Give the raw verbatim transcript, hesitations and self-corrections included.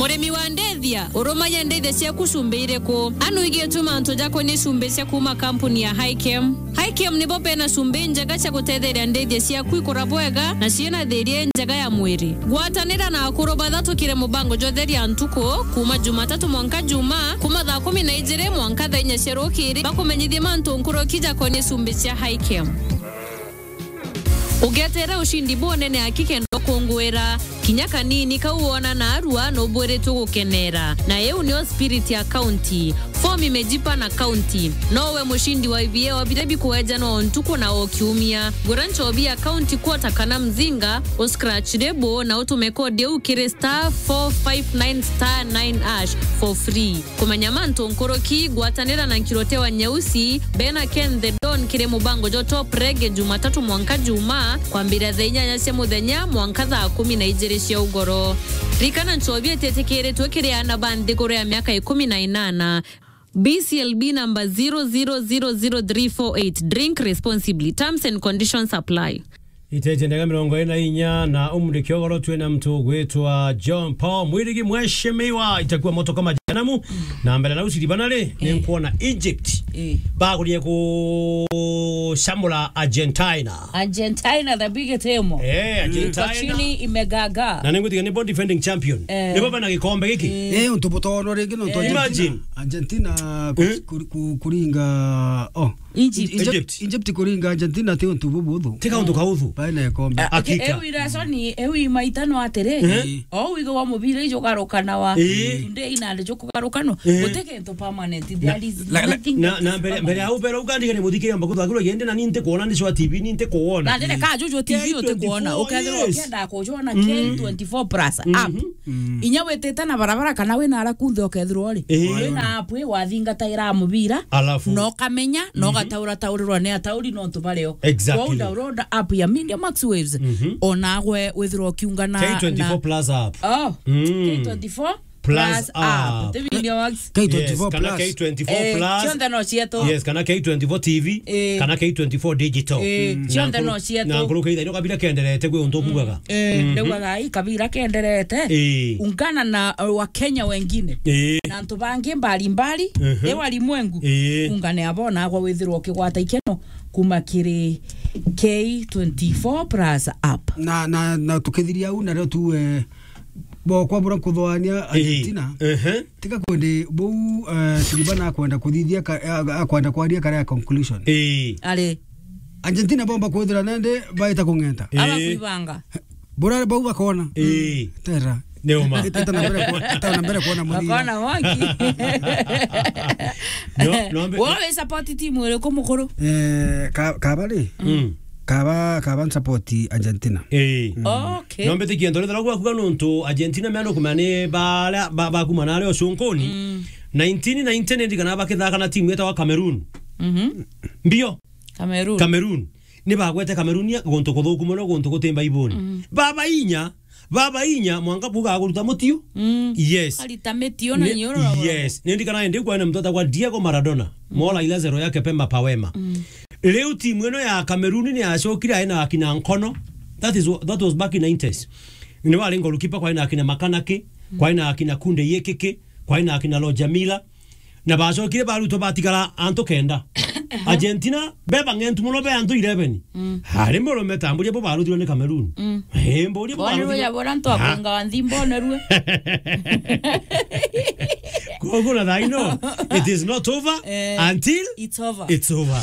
Murimi wa ndithia, urumagia ndithia ciaku cumbi iriku? Anu igitu mantu jakonie cumbi cia kuuma kampuni ya Hikem. Hikem nibo bena cumbi njega cia gutetheria ndithia ciaku ikura bwega na ciina thiria njega ya mwiri. Gwatanira na akuru bathatukire mubango jwa Theria Ntuku, kuuma Jumatatu mwanka Juma, kuuma thaa kumi na ijiri mwanka thaa inya cia rukiri, bakumenyithie mantu nkuruki jakonie cumbi cia Hikem. Ugetere ushindi bunene aki kenda ukungwira. Kinya kanini kau wona naarua nubwiritwe gukenera. Na iu nio spirit ya county. Form imejipa na county. Nowe mushindi wa I V A wa biria bikuejanwa o ntuku na o kiumia. Gura nchobi ya county quarter kana mzinga, u scratch label na utume code iu kiri star four five nine star nine hash for free. Kumenya mantu nkuruki, gwatanira na Nkirote wa Nyeusi, bena Ken the Don kiri mubango jwa Top Reggae Jumatatu mwanka Juma, kwambiria thaa inyanya cia muthenya mwanka thaa kumi na ijiri cia ugoro. Rikana nchobi ititikiritwe kiri aana ba nthiguru ya miaka ikumi na inana. B C L B number zero zero zero zero three four eight. Drink responsibly. Terms and conditions apply. Iteje ndega mirongo iri na inya na umuri kiogoro twina mtu gwitwa John Paul Mwirigi Mheshimiwa, itakuwa moto kama janamu. Na mbere na uciri bana ri, ni nkuona Egypt. Eh. Bagurie kucamura Argentina. Argentina, the big team. Eh, Argentina. Iko chini imegaga. Na ningutiga nibo defending champion. Eh. Nibo bena gikombe giki. Eh, untu butono ringi no. Imagine. Argentina ku-, ku-, ku-, kuringa, oh. Egypt. Egypt. Egypt. Egypt kuringa Argentina ti untu bubuthu. Ti kauntu kauthu. Baina ikombe. Ah, hakika. Eu irasoni, eu imaitano atiri. Eh. O wigo wa mubira ijugarukanawa. Eh. Today na ndio jukugarukanwa. Eh. Guti kintu permanent. There is nothing that is permanent. Na, na, na mbere, mbere au mbere ukandiga ni muthikire mbaku thakiro yende na ninte kuona ni swa T V ninte kuona. Na ndene ka juju T V uti kuona. Ukethirwa ukienda kujona K twenty-four plus app. Inya witite na barabara kana wina ara kunthe ukethirwa uri. Eh. Wina app ii wathingataira mubira. Alafu. No kamenya, no gataura taurirwa ni atauri no tubareo. Exactly. Kwou download app ya Media Max Waves. Onagwe withirwa ukiungana na K twenty-four plus app. Oh. K twenty-four plus app. Plus app. Tebilia Max. K twenty-four plus. Yes, kana K twenty-four plus. Eh, cionthe no cietu. Yes, kana K twenty-four T V, eh, kana K twenty-four digital. Eh, cionthe no cietu. Na nkuru keitha ino kabira kenderete kwi untu kugaga. Eh, ndaugaga, "Ai, kabira kenderete." Eh. Ungana na, uh, Wakenya wengine. Eh. Na antu bangi mbalimbali, eh, wa limwengu. Eh. Ungane abo nagwe withirwa ukigwata ikeno kuma kiri K twenty-four plus app. Na, na, na tukithiria au, na rio tu, eh, bo kwa bura kuthoania Argentina. Ehe. Tiga kwendi bou, eh, Silva na akwenda kuthithia ka-, a-, akwenda kwaria kare ya conclusion. Ii. Ari. Argentina bomba kwithira nende baita kung'enta. Aba kuibanga. Bura bau bakona. Ii. Tera. Ni uma. Ita na mbere kwa-, ita na mbere kuona muthia. Bakona waki. No, no, mbe- Wewe support team iriku mukuru? Eh, ka-, kabari? Mm. Kaba, kaba nsupport Argentina. Ii. Mm. Okay. No mbitikie ntorethera gwaku ga nontu Argentina mea nukumea ni baria ba-, bakuma na aria ucunkuni. Mm. Nineteen ninety ni ndirikana bakithaka na timu yetagwa Cameroon. Mhm. Mbio. Cameroon. Cameroon. Ni bagwete Cameroon ya guntu kuthuku mono, guntu guti Mbaibuni. Mm. Baba inya, baba inya, mwanka buga guruta mutiu. Mm. Yes. Arita mitio na Ni-, inyoro na yes. Ni ndirikana ndi kwa na mtu etagwa Diego Maradona. Mm. Mola ile zero yake pemba pawema. Mm. Riu timu ino ya Cameroon ni yacokire aina akina Nkono. That is wha-, that was back in nineties. Ni wari goalkeeper kwa aina akina Makanaki, kwa aina akina Kunde Yekeke, kwa aina akina Roger Miller. Na bacokire barutwo batigara antu kenda. Argentina, beba ng'entu mono be antu eleven. Mm. Hari murume tamburia bo barutirwe ni Cameroon. Mm. Eh, mburia bo barutirwe. Bonerwe ya bora ntu akunga wa nthi mbonerwe. Koguo na thaino, it is not over, eh, until it's over. It's over.